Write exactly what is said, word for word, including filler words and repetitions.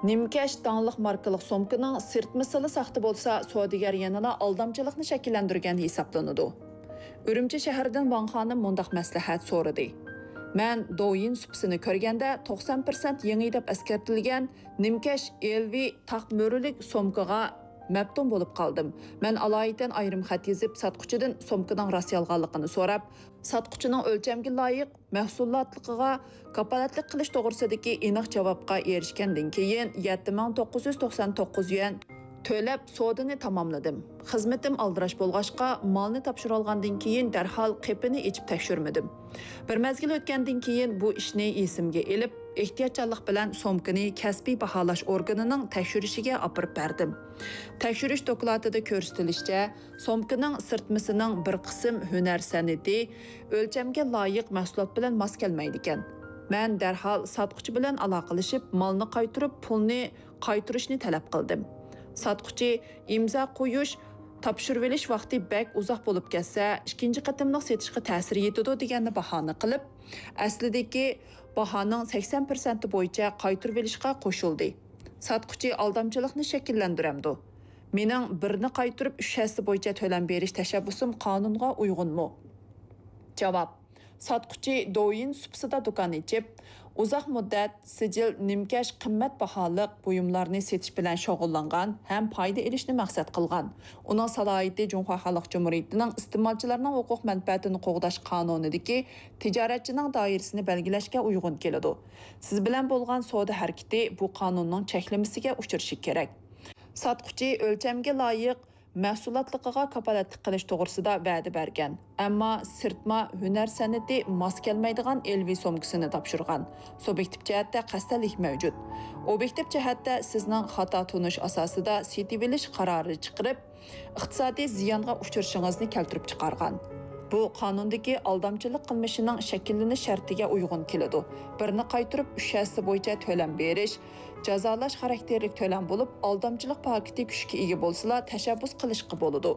نىمكەش داڭلىق ماركىلىق سومكىنىڭ سىرتمىسىلا ساختا بولسا، سودىگەر يەنىلا ئالدامچىلىقنى شەكىللەندۈرگەن ھېسابلىنىدۇ. ئۈرۈمچى شەھىرىدىن ۋاڭ خانىم مۇنداق مەسلىھەت سورىدى: مەن دوۋيىن سۇپىسىنى كۆرگەندە، توقسان پىرسەنت يېڭى دەپ ئەسكەرتىلگەن نىمكەش ئېلۋى تاق مۈرىلىك سومكىغا مەپتۇن بولۇپ قالدىم. مەن ئالايىتەن ئايرىم خەت يېزىپ، ساتقۇچىدىن سومكىنىڭ راست-يالغانلىقىنى سوراپ، ساتقۇچىنىڭ ئۆلچەمگە لايىق مەھسۇلاتلىقىغا كاپالەتلىك قىلىش توغرىسىدىكى ئېنىق جاۋابقا ئېرىشكەندىن كېيىن، يەتتە مىڭ توققۇز يۈز توقسان توققۇز يۈەن تۆلەپ، سودىنى تاماملىدىم. خىزمىتىم ئالدىراش بولغاچقا، مالنى تاپشۇرالغاندىن كېيىن دەرھال قېپىنى ئېچىپ تەكشۈرمىدىم. بىر مەزگىل ئۆتكەندىن كېيىن بۇ ئىشنى ئېسىمگە ئېلىپ، ئېھتىياتچانلىق بىلەن سومكىنى كەسپىي باھالاش ئورگىنىنىڭ تەكشۈرۈشىگە ئاپىرىپ بەردىم. تەكشۈرۈش دوكلاتىدا كۆرسىتىلىشىچە، سومكىنىڭ سىرتمىسىنىڭ بىر قىسىم ھۈنەر سەنئىتى ئۆلچەمگە لايىق مەھسۇلات بىلەن ماس كەلمەيدىكەن. مەن دەرھال ساتقۇچى بىلەن ئالاقىلىشىپ، مالنى قايتۇرۇپ، پۇلنى قايتۇرۇشنى تەلەپ قىلدىم. ساتقۇچى ئىمزا قويۇش، تاپشۇرۇۋېلىش ۋاقتى بەك ئۇزاق بولۇپ كەتسە، ئىككىنچى قېتىملىق سېتىشقا تەسىر يېتىدۇ دېگەننى باھانە قىلىپ، ئەسلىدىكى باھانىڭ سەكسەن پىرسەنتى بويىچە قايتۇرۇۋېلىشقا قوشۇلدى. ساتقۇچى ئالدامچىلىقنى شەكىللەندۈرەمدۇ؟ مېنىڭ بىرنى قايتۇرۇپ، ئۈچ ھەسسە بويىچە تۆلەم بېرىش تەشەببۇسۇم قانۇنغا ئۇيغۇنمۇ؟ جاۋاب: ساتقۇچى دوۋيىن سۇپىسىدا دۇكان ئېچىپ، ئۇزاق مۇددەت سىجىل نىمكەش قىممەت باھالىق بۇيۇملارنى سېتىش بىلەن شۇغۇللانغان ھەم پايدا ئېلىشنى مەقسەت قىلغان. ئۇنىڭ سالاھىيىتى جۇڭخۇا خەلق جۇمھۇرىيىتىنىڭ ئىستېمالچىلارنىڭ ھوقۇق مەنپەئەتىنى قوغداش قانۇنىدىكى تىجارەتچىنىڭ دائىرىسىنى بەلگىلەشكە ئۇيغۇن كېلىدۇ. سىز بىلەن بولغان سودا ھەرىكىتى بۇ قانۇننىڭ چەكلىمىسىگە ئۇچرىشى كېرەك. ساتقۇچى ئۆلچەمگە لايىق مەھسۇلاتلىقىغا كاپالەتلىك قىلىش توغرىسىدا ۋەدە بەرگەن، ئەمما سىرتما ھۈنەر سەنئىتى ماس كەلمەيدىغان ئېلۋى سومكىسىنى تاپشۇرغان. سۇبيېكتىپ جەھەتتە قەستەنلىك مەۋجۇت. ئوبيېكتىپ جەھەتتە سىزنىڭ خاتا تونۇش ئاساسىدا سېتىۋېلىش قارارى چىقىرىپ، ئىقتىسادىي زىيانغا ئۇچرىشىڭىزنى كەلتۈرۈپ چىقارغان. بۇ قانۇندىكى ئالدامچىلىق قىلمىشىنىڭ شەكىللىنىش شەرتىگە ئۇيغۇن كېلىدۇ. بىرنى قايتۇرۇپ، ئۈچ ھەسسە بويىچە تۆلەم بېرىش، جازالاش خاراكتېرلىك تۆلەم بولۇپ، ئالدامچىلىق پاكىتى كۈچكە ئىگە بولسىلا، تەشەببۇس قىلىشقا بولىدۇ.